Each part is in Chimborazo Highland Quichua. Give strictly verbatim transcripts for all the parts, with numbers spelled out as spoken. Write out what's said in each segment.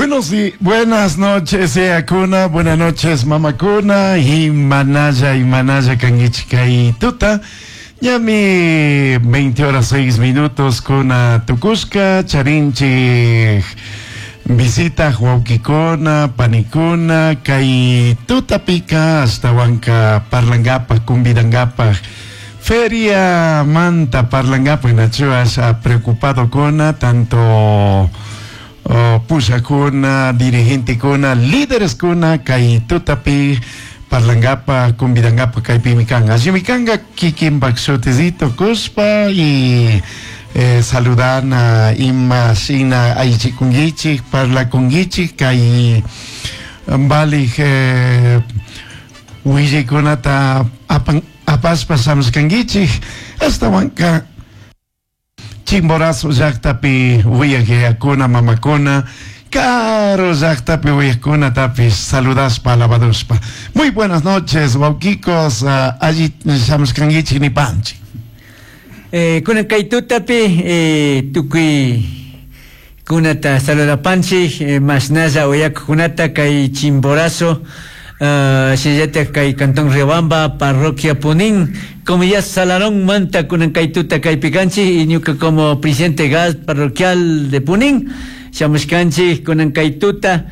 Buenos días, buenas noches, Cuna, buenas noches, mamakuna, y manaya, y manaya, kangichik tuta. Ñami veinte horas seis minutos kuna tukushka, charinchik visita huauquicona, panicuna, kay tutapika, hasta parlangapa, kumbidangapa, feria manta parlangapa, nachuas preocupado kona, tanto oh, pushakuna, dirigente kuna, líderes kuna, kay tutapi, parlangapa, kumbidangapa, kaypimi kanga. Allimi kanga, kikinpak shutizito kushpa y eh, saludana ima shina aychikunguichik, parlakunguichik, kay valij eh, willaykunata apan, apaspa shamushkanguichik, ashtawanka Chimborazo llaqtapi wiyajyakuna, mamakuna, caro llaqtapi wiyajkuna tapis saludaspa, alabaduspa. Muy buenas noches, wawkikos, uh, alli shamushkanguichik nipanchik. Eh, kunan kay tutapi, eh, tukuy kunata saludapanchik, eh, mashnalla uyakuqkunata kay Chimborazo, uh, shinallatak kay Cantón Riobamba, Parroquia Punín, como ya Salarón manta kunan kay tuta kaypi kanchik, y ñuka como presidente gas parroquial de Punín, shamushkanchik kunan kay tuta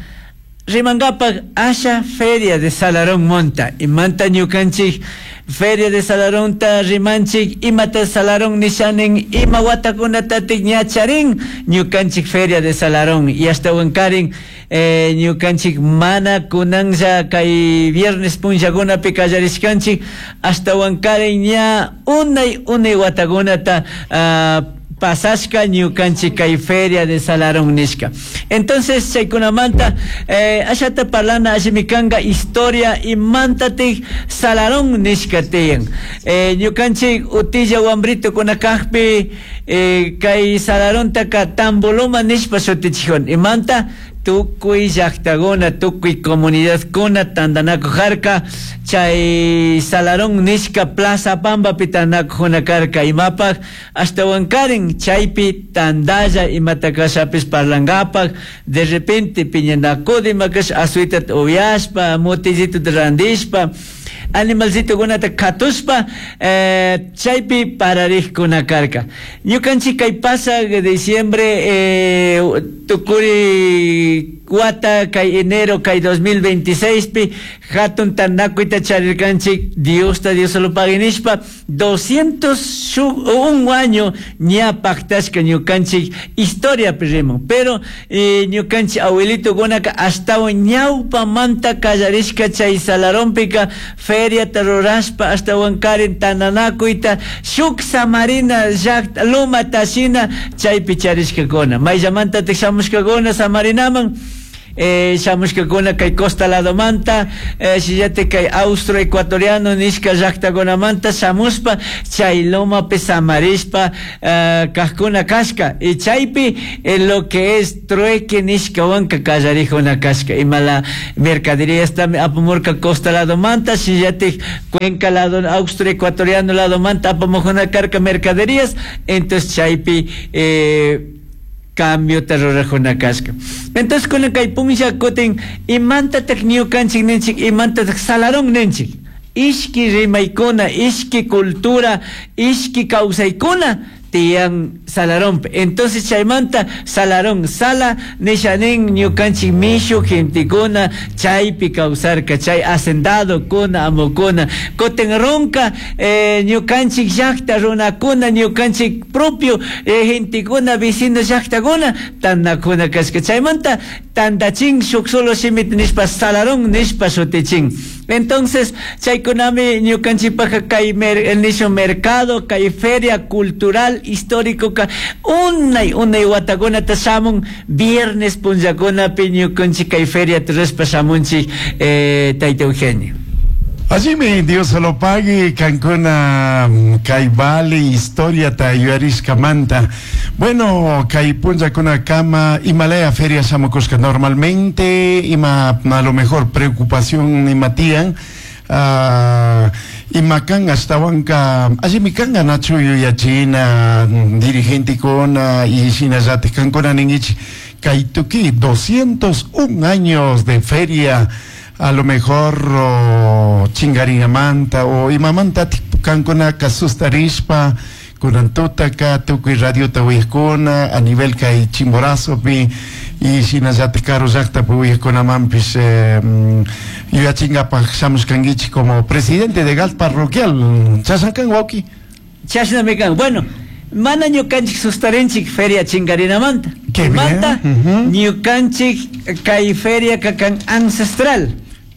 rimangapak asha feria de Salarón monta, y manta ñukanchik feria de Salarón ta rimanchik, imata Salarón nishanin, ima watakunatatik ñacharin, ñukanchik feria de Salarón, y hasta wankarin, eh, ñukanchik mana kunanlla kay viernes punllakunapi kallarishkanchik, hasta wankarin ña unay unay watakunata, uh, pasashka ñukanchik kay feria de Salarón nishka. Entonces chaykunamanta, eh, ashata parlana ashimikanga historia imantatik Salarón nishka tiyan. Eh, ñukanchik utilla wambrito kunakajpi, eh, kay Salarontaka Tamboloma nishpa shutichijun. Imanta tukuy llaqtakuna, tukuy comunidadkuna tantanakujarka, chay Salarón nishka Plaza Pambapi tanakujuna karka, imapaq ashtawankarin chaypi tandalla imata kashapis parlangapaq, de repente piñanakudi imakash asuita uyashpa, motillito randishpa, animalcito kunata katuspa, eh, chaypi parariqkuna karka. Ñukanchik kay pasaq diciembre, eh, tukuri wata kay enero kay dos mil veintiséis pi hatun tanakuyta charirkanchik, Diosta Dios lo pague nishpa, doscientos un año ña pactashka ñukanchik historia primo, pero, eh, ñukanchik abuelito kunaka ashtawan ñawpamanta kallarishka chay Salarónpika feria rurashpa ashtawan karin tananakuyta shuk samarina llaqta loma tashina chaypi charishkakuna, mayllamantatik shamushkakuna samarinaman, eh, shamushkakuna kay costa ladomanta, eh, shillate kay austro ecuatoriano nishka llaqtakunamanta shamushpa chay lomapi samarishpa, eh, kajkuna kashka, y chaypi, eh, lo que es trueque nishka wanka kallarijuna kashka, imala mercadería estami apamurka costa ladomanta, shillate cuenca lado austro ecuatoriano ladomanta apamujuna karka mercaderías, entonces chaypi, eh, cambio terrorajuna kashka. Entonces con el kay punlla kutin imantatak ñukanchik ninchik, imantatak Salarón ninchik, ishki rimaykuna, ishki cultura, ishki kawsaykuna tiyan Salarón. Entonces chaymanta Salarón sala nishanin ñukanchik mishu gentekuna chaypi kawsarka, chay hacendado kuna amukuna kutin ronka, eh, ñukanchik llaqta runakuna, ñukanchik propio, eh, gentekuna vecino llaqtakuna tanakuna kashka. Chaymanta tantachin shuk solo shimit nishpa Salarón nishpa shutichin. Entonces chaykunami ñukanchikpaqa kay mer-, el nisho mercado, kay feria cultural histórico ka unay unay watakunata shamun viernes punllakunapi ñukanchik kay feria turaspa shamunchik, eh, tayta Eugenio. Allí Dios se lo pague, Cancuna, Caibali, historia tayuarishkamanta. Bueno, Caipunja con cama, Himalaya, Feria Shamukushka, normalmente, ima, a lo mejor preocupación imatían, ah, Imakan ashtawanka allimi kanga nachu yuyachina dirigentekuna y shinallatik kankuna ninkichik kay tukuy doscientos un años de feria a lo mejor o chingarinamanta o imamanta kankunaka sustarishpa kunan tutaka tukuy radiota uyakuna a nivel kay Chimborazopi y shinallatik karu llaktapi uyakkunamanpish eh, yuyachinkapak shamushkankichik como presidente de G A L parroquial. Chashna kan, wawki? Chashnami kan. Bueno, mana ñukanchik sustarinchik feria chingarinamanta. Qué bien. Manta Ujú. ñukanchik kay feria kan ancestral.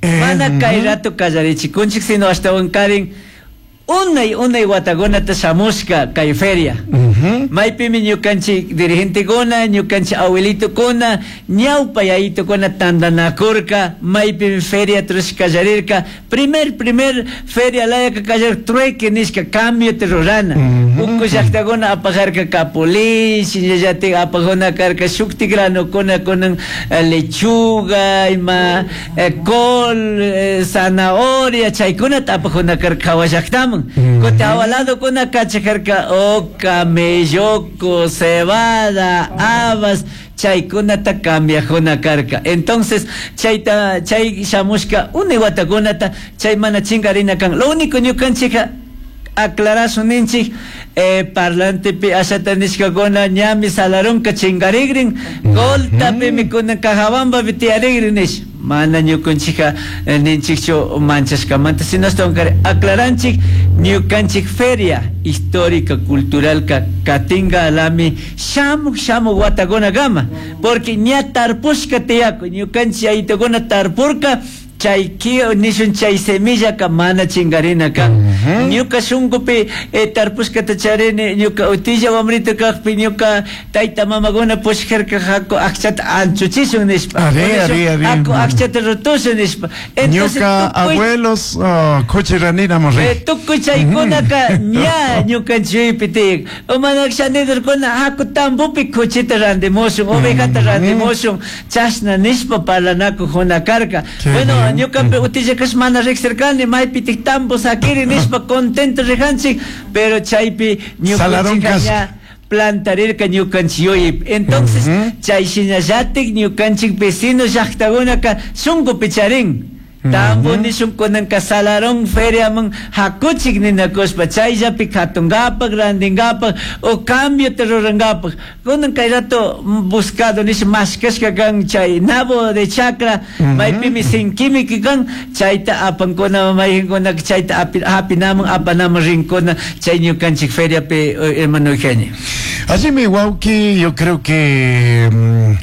Eh, Mana kay ujú. rato kallarichikunchik, sino ashtawankarin unay unay watakunata shamushka kay feria. Ujú. Maypimi ñukanchik dirigentekuna, ñukanchik abuelitukuna, ñawpa yayitukuna tantanakurka, maypimi feria trush kallarirka. Primer, primer feria layaka kallar trueque nishka cambio rurana. Ujú. Uku llaktakuna apajarka capulín, shinallatik apajuna karka shukti granukuna kunan eh, lechuga, ima eh, col, eh, zanahoria, chaykunata apajuna karka hawa llaktaman. Ujú. Kutin hawa ladokuna kachajarka oca, melloco, cebada, habas, chaykunata cambiajuna karka. Entonces, chayta, chay shamushka unay watakunata, chay mana chingarina kan. Lo único ñukanchika aclarasun ninchik, eh, parlantepi ashata nishkakuna ñami Salarunka chingarigrin, Coltapimi kunan Cajabambapi tiyarigrin nish. Mana ñukanchika eh, ninchikchu manchashkamanta, sino ashtawankari aclaranchik ñukanchik feria histórica cultural ka katinga alami shamuk shamuk watakuna kama, porque ña tarpushka tiyaku ñukanchik yayitukuna tarpurka chay ki nishun chay semillaka mana chingarina kan. Ujú. Ñuka shunkupi eh, tarpushkata charini ñuka utilla wamrito kakpi ñuka tayta mamakuna pushkarka haku akchata anchuchishun nishpa. Ari, Nishun, ari, ari. Haku akchata rutushun nishpa. Entonces, Ñuka tukuy- abuelos oh, kuchiranina Eh, tukuy chaykunaka ña ñukanchikpi tiyak. Umanak shanidurkuna haku tambupi kuchita randimushun, ovejata randimushun, chashna nishpa parlanakujuna karka. Qué Bueno, bien. Ñukapi utillakash mana riqsirkani, maypitik tambo sakiri nishpa contento rijanchik, pero chaypi Salarón ñukanchika kas- ña plantarirka ñukanchik yuyaypi. Entonces, Ujú. chay shinallatik ñukanchik vecino llaktakunaka shunkupi charin. Tambo nishun kunanka Salarón feriaman hakuchik ninakushpa chayllapi katungapak, rantingapak o cambio rurangapak. Kunan kay rato buscado nish mashkashka kan chay nabo de chakra, maypimi sinkimiki kan chayta apankuna mayqinkuna chayta api, hapinaman apanaman rinkuna chay ñukanchik feriapi, eh, hermano Eugenio. Así mi wawki, yo creo que mm,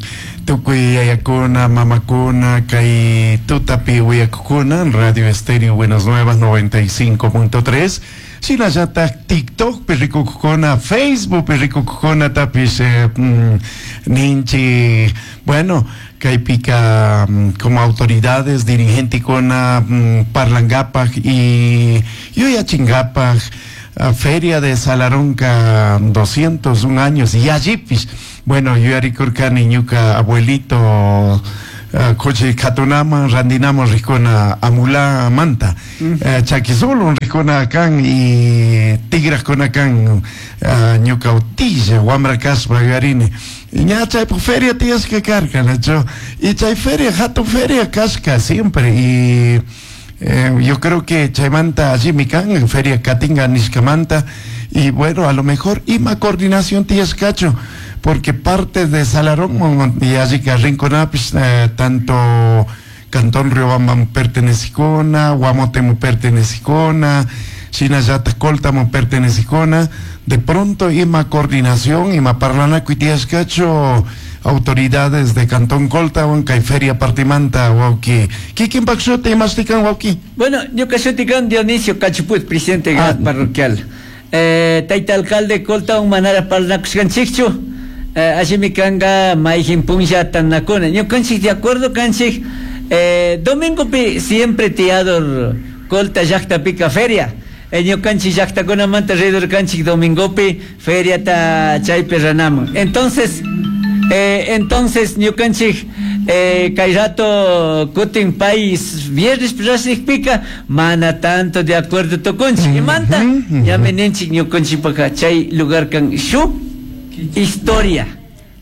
tukuy yayakuna, mamakuna, kay tutapi uyakukuna, Radio Estéreo Buenas Nuevas noventa y cinco punto tres, shinallatak TikTok rikukukuna, Facebook rikukukuna, tapish eh, mm, ninchi, bueno, kaypika mm, como autoridades, dirigentekuna mm, parlangapak y yuyachingapak, a Feria de Salarunca doscientos un años y allipis. Bueno, yuyarikurkani ñuka abuelito uh, kuchi katunaman randinaman rikuna amula manta uh, chakisulun rikuna kan y tigraskuna kan uh, ñuka utilla wamra kaspa yuyarini ña chaypuk feria tiyashka karka, nachu? Y chay feria hatun feria kashka siempre y Eh, yo creo que chaymanta allimi kan feria katinga nishkamanta y bueno, a lo mejor ima coordinación tiyashkachu, porque parte de Salarón y allí que rinconapis eh, tanto Cantón Riobamba pertenecicona, Guamotemo pertenecicona, shinallata Coltamo pertenecicona, de pronto ima coordinación, ima parlanakuy tiyashkachu autoridades de Cantón Colta, kay feria partimanta, wawki. Kikinpak shuti imashtikan, wawki? Bueno, ñuka shuti kan Dionisio Cachuput, presidente Ah. parroquial. Eh, tayta alcalde Colta manara parlanakushkanchikchu. Eh, allimi kanga mayjin punlla tanakuna. Ñukanchik de acuerdo kanchik eh, domingopi siempre tiyador Colta llaqtapika feria. Eh, ñukanchik llaqtakunamanta ridor kanchik domingopi feriata chaypi ranaman. Entonces, eh, entonces ñukanchik eh, kay rato kutin pay viernes rashnikpika mana tanto de acuerdo tukunchik. Imanta ñami ninchik ñukanchikpaka chay lugar kan shuk historia.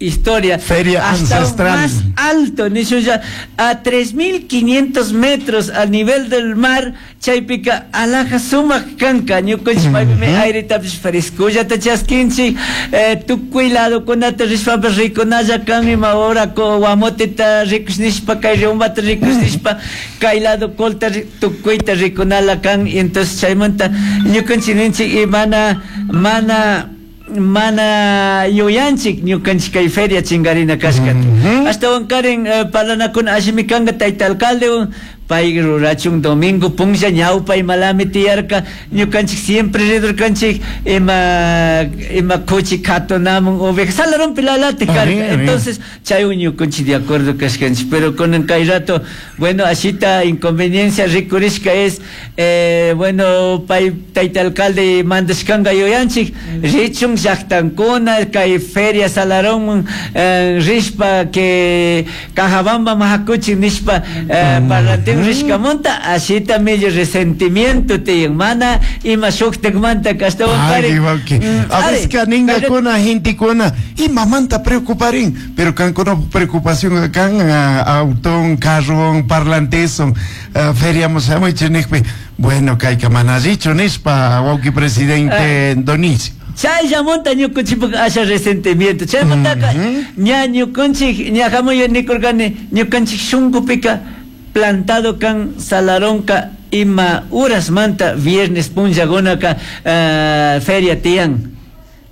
Historia Feria hasta ancestral. Más alto, ya a tres mil quinientos metros al nivel del mar, chaypika alaja sumak kanka, ñukanchik paypimi airetapish frescollata chaskinchik, eh, tukuy ladokunata rishpapish rikunalla kan, ima hora guamoteta rikush nishpa, kay riumbata rikush nishpa, kay lado colta tukuyta rikunala kan, y entonces chaymanta ñukanchik ninchik y mana, mana mana yuyanchik ñukanchik kay feria chingarina kashkata. Ashtawan karin parlanakuna allimi kanka tayta alcalde pay rurachun domingo punlla ñawpa imalami tiyarka ñukanchik siempre ridurkanchik ima ima kuchi katunamun oveja Salarón lalate karka. Entonces chaywan ñukanchik de acuerdo kashkanchik, pero con kay rato bueno ashita inconveniencia rikurishka es eh, bueno pay tayta alcalde mandashkanka yuyanchik richun llaqtankuna kay feria Salarón eh, rishpa que Cajabamba mahakuchik nishpa eh, parlantin rishkamunta ashita millo resentimiento tiyan mana ima shuktakmanta ashtawan kari a veces ningakuna gentekuna imamanta preocuparin pero kankuna preocupación kan auton carron parlanteson feria shamuichik nikpi bueno kayka mana allichu nishpa wawqi presidente Donicio. Chayllamunta ñukanchikpak asha resentimiento chaymantaka ña ñukanchik ña hamuy nikurkani ñukanchik shunqupika plantado kan Salaronka ima urasmanta viernes punllakunaka uh, feria tiyan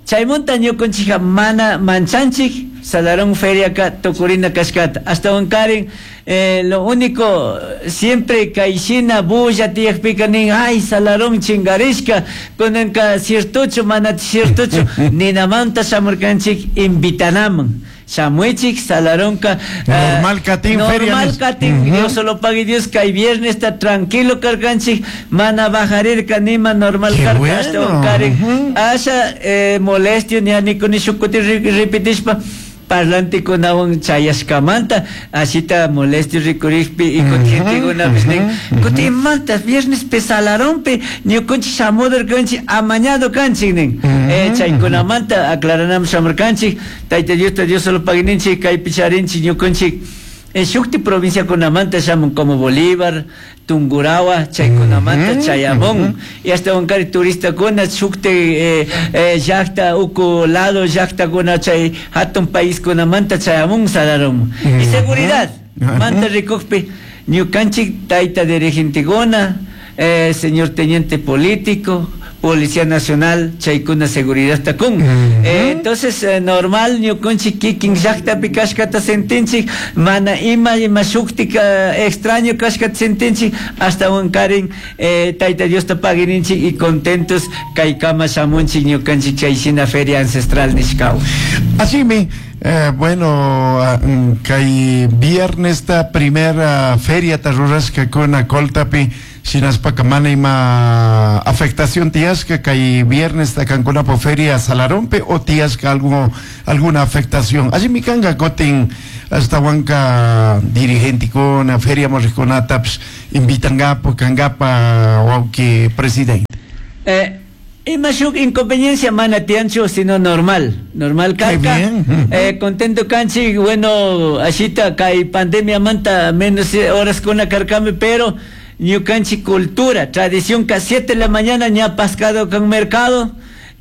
chaymunta ñukanchikka mana manchanchik Salarón feriaka tukurina kashkata ashtawan karin eh, lo único siempre kayshina bulla tiyakpika nin ay Salarón chingarishka kunanka ciertochu mana ciertochu ninamanta shamurkanchik invitanaman shamuichik Salaronka normal katin feria normal katin Dios solo pague Dios kay viernes está tranquilo karkanchik mana bajarirka nima normal karka ashtawan karin asha eh, molestio ni nikuni shukuti repetishpa parlantikunawan chayashkamanta ashita molestio rikurikpi y kutinkunapish nin kutinmanta viernes pe Salarompi ñukanchik shamudurkanchik amañado kanchik nin eh, chaykunamanta aclaranaman shamurkanchik tayta Diosta Dios solo paguininchik kaypi charinchik ñukanchik en shukti provinciakunamanta shamun como Bolívar, Tungurahua, chaykunamanta chayamun y hasta wankari turistakuna shukti eh, eh, llaqta uku lado llaqtakuna chay hatun paiskunamanta chayamun Salarón y seguridad manta rikukpi ñukanchik tayta dirigentekuna eh, señor teniente político Policía Nacional, chaykuna seguridad takun. Eh, entonces, eh, normal, ñukanchik kikin llaqtapi kashkata sentinchik, mana ima ima shuktika extraño kashkata sentinchik, hasta wankarin eh, tayta Diosta paguininchik y contentos kaykama shamunchik ñukanchik chayshina feria ancestral nishkaw. Así mi, eh, bueno, kay viernes ta primera feria ta rurashkakuna Coltapi, shinaspaka mana ima afectación tiyashka kay viernes ta kankunapo feria Salarompe o tiyashka algo, alguna afectación. Allí mi kanga kutin ashtawanka dirigentekuna feria morrikunatapish invitangapo kankapa wawqi presidente. Eh, ima shuk inconveniencia mana tiyanchu sino normal, normal karka. Eh, contento kanchik, bueno, ashita kay pandemia manta menos horas kuna karkami, pero ñukanchik cultura, tradición que a siete de la mañana ña pascado con mercado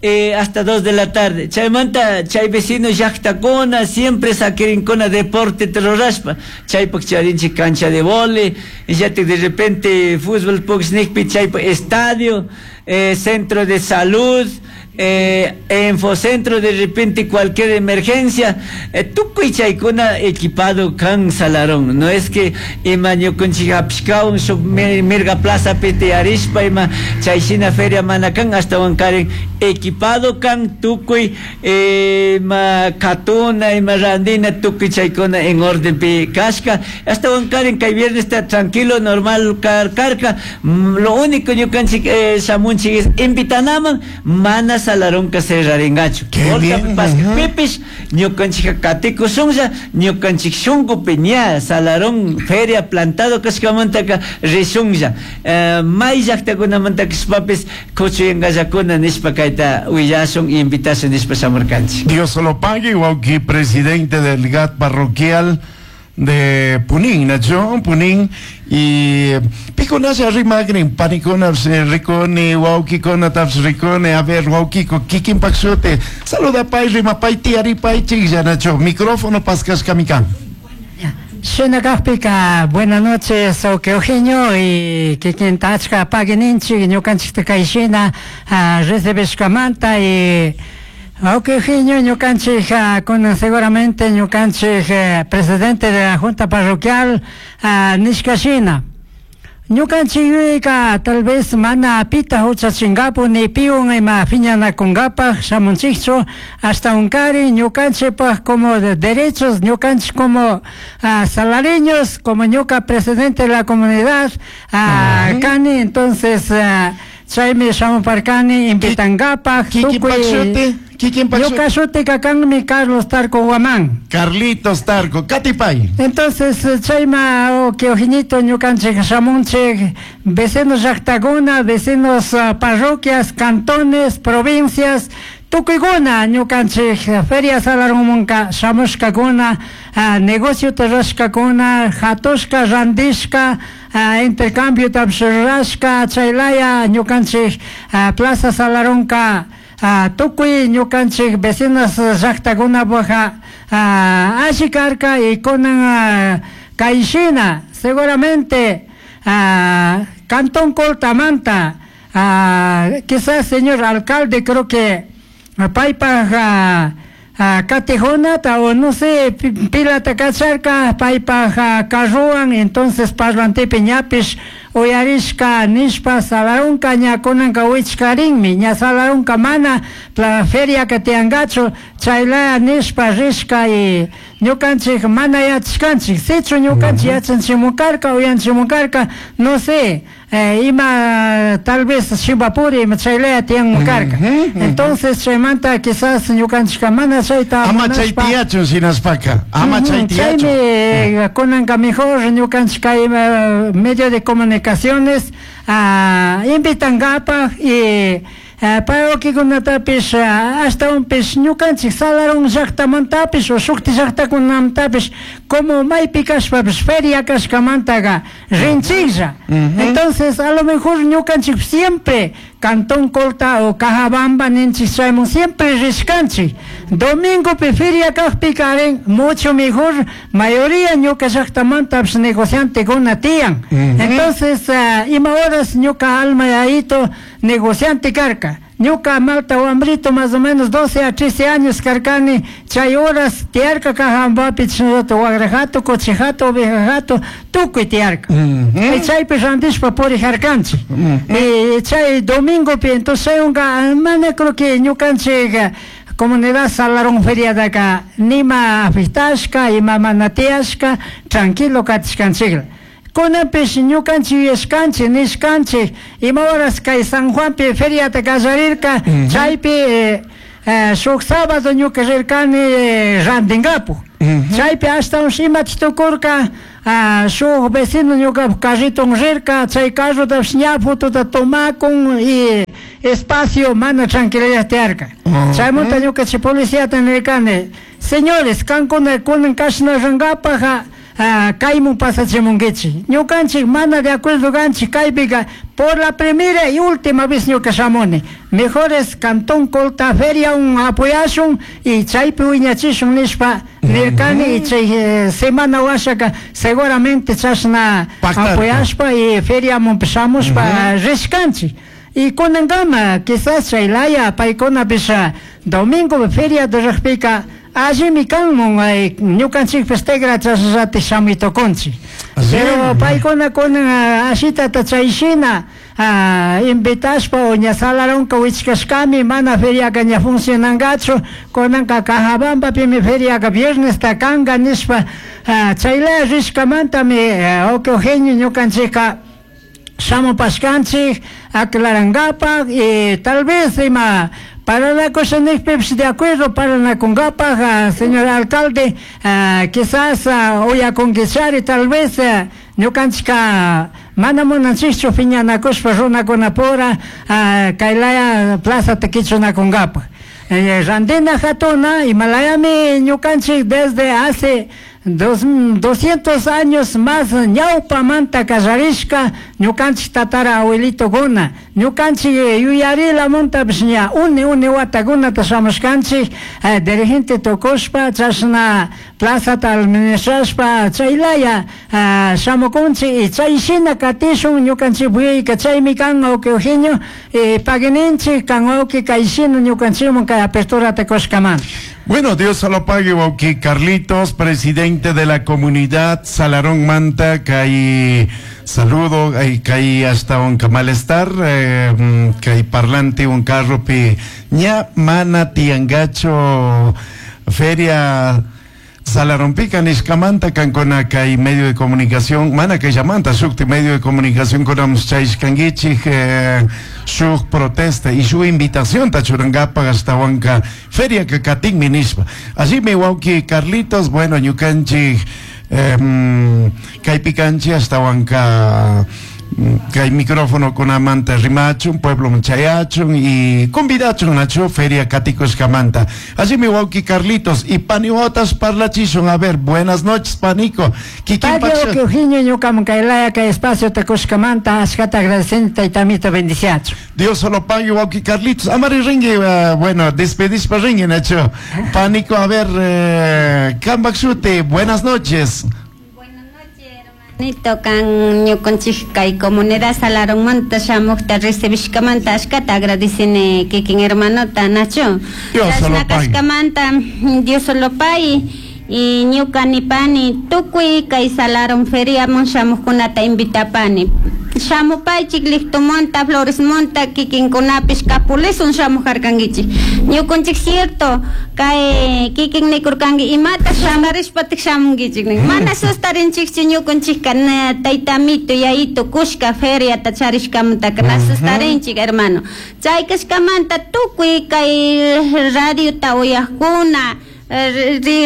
eh, hasta dos de la tarde. Chaymanta, chay vecino llaqtakuna, siempre saquirinkuna deporte terrorashpa. Chaypak charinchik cancha de vóley, ya te de repente fútbol puksnikpi, chaypak estadio, eh, centro de salud, eh, infocentro, de repente cualquier emergencia, eh, tukuy chaykuna equipado kan Salarón. No es que ima ñukanchik hapishkawan shuk mirga plaza tiyarishpa ima chayshina feria mana kan, ashtawan karin equipado kan tukuy ima katuna ima randina tukuy chaykuna en orden pi kashka, ashtawan karin kay viernes está tranquilo normal kar karka. Lo único ñukanchik eh, shamunchik es invitanaman mana Salarunka cerraringachu. Pipish ñukanchik katikushunlla, ñukanchik shunkupi ña Salarón feria plantado kashkamantaka rishunlla. May llaqtakunamanta kashpapis kuchuyankallakuna nishpa kayta willashun, invitashun nishpa shamurkanchik. Dios lo pague, wawki presidente del G A T parroquial de Punín, Nacho, Punín, y piconasa rimagrin, panicona ricone, wawkikona taps ricone, a ver, wawkiko, kikin paxote, saluda pay, rimapay, tiaripay, chilla, Nacho, micrófono pascas kamikan. Shinakajpika, buenas noches, okay, Eugenio, y kikin tachka paguininchi, ñukanchikta kayshina, recibishkamanta, y ok, Eugenio, ñukanchik, con seguramente ñukanchik, eh, presidente de la Junta Parroquial, uh, nishkashina. Ñukanchik tal vez mana pita huchachingapu ni piun ima piñanakunkapaj shamunchikchu hasta unkari ñukanchikpaj como de derechos, ñukanchik como uh, salareños, como ñuka presidente de la comunidad, uh, uh-huh. Kani, entonces uh, chaymi shamuparkani invitankapaj tukuy. Ñuka shutika kanmi Carlos Tarco Guamán. Carlitos Tarco, Catipay. Entonces, chayma o que Eugenito ñukanchik shamunchik, vecinos llaqtakuna, vecinos uh, parroquias, cantones, provincias, tukuykuna ñukanchik feria Salarunmunka shamushkakuna, uh, negocio rurashkakuna, hatushka, randishka, uh, intercambio rurashka, chaylaya ñukanchik uh, Plaza Salarunka Uh, tukuy ñukanchik vecinos llaqtakunapaqa uh, alli karka y kunan uh, kayshina seguramente uh, Cantón Coltamanta uh, quizás señor alcalde creo que paypaj uh, uh, katijunata o no sé pilata kacharka paypaj uh, carruwan, entonces parlantepi ñapish uyarishka nishpa Salarunka ña kunanka wichkarinmi ña Salarunka mana la feria que tiangachu chaylaya nishpa rishka y ñukanchik mana yachashkanchik sichu ñukanchik yachanchimukarka uyanchimukarka no sé eh, ima tal vez Shivapuri ima chaylaya tianmukarka. Entonces chaymanta quizás ñukanchika mana chayta ama chay tiyachun sinaspaka ama chay tiyachun chaymi kunanka mejor ñukanchik kay medio de comunicaciones uh, invitankapaj y uh, parroquikunatapish uh, ashtawanpish ñukanchik Salarón llaqtamantapish o shukti llaqtakunamantapish como maypi kashpapish feria kashkamantaqa rinchiklla. Uh-huh. Entonces a lo mejor ñukanchik siempre Cantón Colta o Cajabamba ninchik chaymun siempre rishkanchik domingopi feria kajpika rin mucho mejor mayoría ñuka llaqtamantapish negociantekuna tiyan. Uh-huh. Entonces uh, ima horas ñuka alma yayito negociante karka ñuka malta wambrito más o menos doce a trece años karkani chay horas tiarka Cajabambapi chinallatak wagrajato, cochijato, ovejajato tukuy tiarka. Uh-huh. Y chaypi randishpa purijarkanchik. Uh-huh. Y chay domingopi entonces chaywanka mana creo que ñukanchik comunidad Salarón feriadaka nima afectashka ima mana tiyashka tranquilo katishkanchikla. Kunanpish ñukanchik yuyashkanchik nishkanchik ima horas kay San Juanpi feriata kallarirka chaypi eh, eh, shuk sábado ñuka rirkani eh, rantinkapuj. Uh-huh. Chaypi ashtawan imachik tukurka uh, shuk vecino ñuka carriton rirka chay carrotapish ña fotota tomakun y espacio mana tranquilidad tiyarka. Uh-huh. Chaymanta ñuka chay policiata nirkani señores kankuna kunan kashna rinkapaja Uh, kaymun pasachimunkichik ñukanchik mana de acuerdo kanchik kaypika por la primera y última vez ñuka shamuni mejor es Cantón Colta feria un apoyashun y chaypi wiñachishun nishpa nirkani y chay eh, semana washaka seguramente chashna apoyashpa y feriamun shamushpa uh-huh. rishkanchik y kunankama quizás chaylaya paykunapish domingo feria de rikpika allimi kanmun ñukanchikpish tigra chashallati shamuytukunchik pero paykuna kunan ashitata chayshina invitashpa o ña Salarunka wichkashkami mana feriaka ña funcionankachu kunanka Cajabambapimi feriaka viernesta kanka nishpa chaylaya rishkamantami wawqi Eugenio ñukanchikka shamupashkanchik aclarankapak y tal vez ima Paranakusha nikpipish de acuerdo paranakunkapaj, señor alcalde, quizás uyakunkichari tal vez ñukanchika mana munanchikchu piñanakushpa runakunapura kaylaya plazata kichunakunkapaj. Randina hatuna imalayami ñukanchik desde hace dos, doscientos años más ñawpamanta kallarishka ñukanchik tatara abuelitokuna ñukanchik yuyarilamuntapish ña uni uni watakunata shamushkanchik eh, dirigente tukushpa chashna plazata administrashpa chaylaya eh, shamukunchik y chay shina katishun ñukanchik buyayka chaymi kan wawqi Eugenio eh, paguininchik kan wawqi kay shina ñukanchikman kay aperturata kushkamanta. Bueno, Dios se lo pague, wawqi Carlitos, presidente de la comunidad Salarón Manta, kay saludo, kay hasta un malestar, eh, kay parlante un carro pi ña mana tiangacho feria Salarompica nishkamanta kankuna kay medio de comunicación, mana kay llamanta shukti medio de comunicación kunamos chayshkankichik eh, shuk protesta y su invitación tachurangapa hasta wanka feria kakatinmi nishpa. Allí mi wawqi Carlitos, bueno, ñukanchik eh, kaypikanchik hasta wanka kay micrófono kunamanta rimachun, pueblo chayachun y convidachun nacho feria katikushkamanta. Allí mi wawqi Carlitos y paniotas parlachishun. A ver, buenas noches, panico. Kikin wawqi Eugenio ñukaman kaylaya kay espacio takushkamanta ashkata agradecen taytamita bendiciachu. Dios solo pague, wawqi Carlitos. Amari ringue, uh, bueno, despedispa ringue, Nacho. Panico, a ver, eh, Kambakshute, buenas noches. Nito kan ñukanchik kay comunidad Salarón shamukta recibishkamanta ashkata agradecini kikin hermanota Nacho. Dios solo kashkamanta Dios solo pague y ñuka nipani tukuy kay Salarón feriaman shamuqkunata invitapani. Shamupaychik Lictomonta, Floresmonta, kikinkunapish Capulesun shamujarkankichik. Ñukanchik cierto kay kikin nikurkanki imata shamarishpatik shamunkichik nin. Mana sustarinchikchu ñukanchikka taytamito yayito kushka feriata charishkamantaka na sustarinchik hermano. Chay kashkamanta tukuy kay radiota uyaqkuna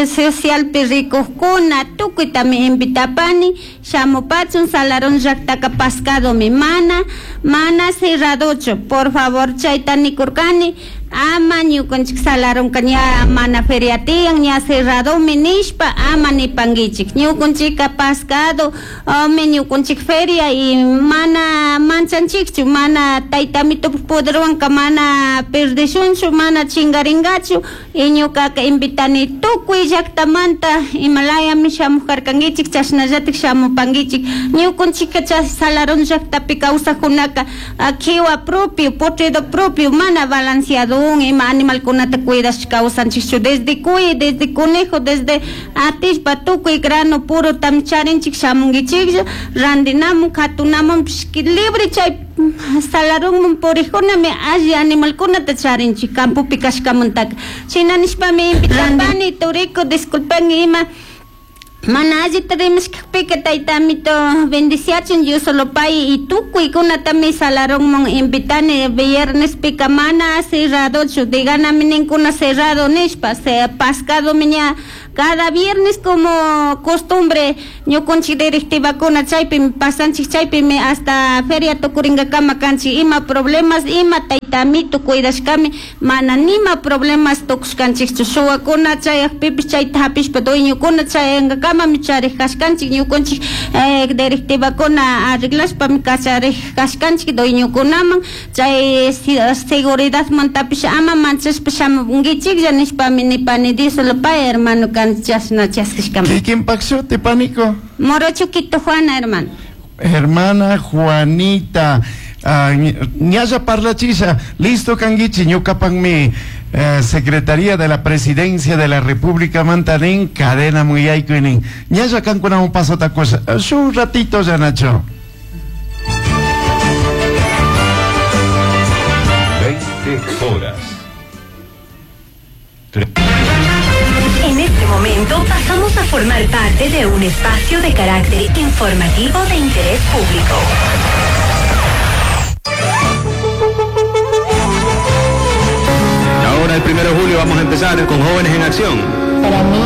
socialpi rikuqkuna tukuytami invitapani shamupachun Salarón llaqtaka pascadomi mana mana cerradochu por favor chayta nikurkani ama ñukanchik Salaronka ña mana feria tiyan ña cerradomi nishpa ama nipankichik ñukanchikka pascado mi ñukanchik feria y mana manchanchikchu mana taytamitupak poderwanka mana perdishunchu mana chingarinkachu y ñukaka invitani tukuy llaqtamanta imalayami shamujarkankichik chashnallatik shamupankichik ñukanchikka chay Salarón llaqtapi kawsaqkunaka kiwa propio potrido propio mana balanceado ima animalkunata cuidash kawsanchikchu desde cuy desde conejo desde atishpa tukuy grano puro tam charinchik shamunkichiklla randinamun katunamun libre chay Salarón puriqkunami alli animalkunata charinchik campopi kashkamantaka shina nishpami invitapani turiku disculpanki ima mana allita rimashkakpika taytamito bendiciachun Dios solo pay y tukuykunatami Salarón invitani viernes pika mana cerradochu diganami ninkuna cerrado nishpa se pascadomi ña cada viernes como costumbre ñukanchik directivakuna chaypimi pasanchik chaypimi hasta feria tukuringakama kanchik ima problemas ima taytamito cuidashkami mana nima problemas tukushkanchikchu shuwakuna chayakpipish chayta hapishpa dueñokuna chayankakamami charik kashkanchik ñukanchik eh, directivakuna arreglashpami kacharik kashkanchik dueñokunaman chay seguridadmantapish ama manchashpa shamunkichiklla nishpami nipani Dios lo pague hermano kan chashna chaskishkama. ¿Quién paxote, pánico? Morocho Quito Juana, hermano. Hermana Juanita, ñalla parlachisha, listo kanguichi, ñukapanmi eh, Secretaría de la Presidencia de la República Mantanin, cadena muy aykuinin. Ñalla kankuna un paso ta cosa. Un ratito ya, Nacho. veinte horas. Tres. En este momento pasamos a formar parte de un espacio de carácter informativo de interés público. Ahora el primero de julio vamos a empezar con Jóvenes en Acción. Para mí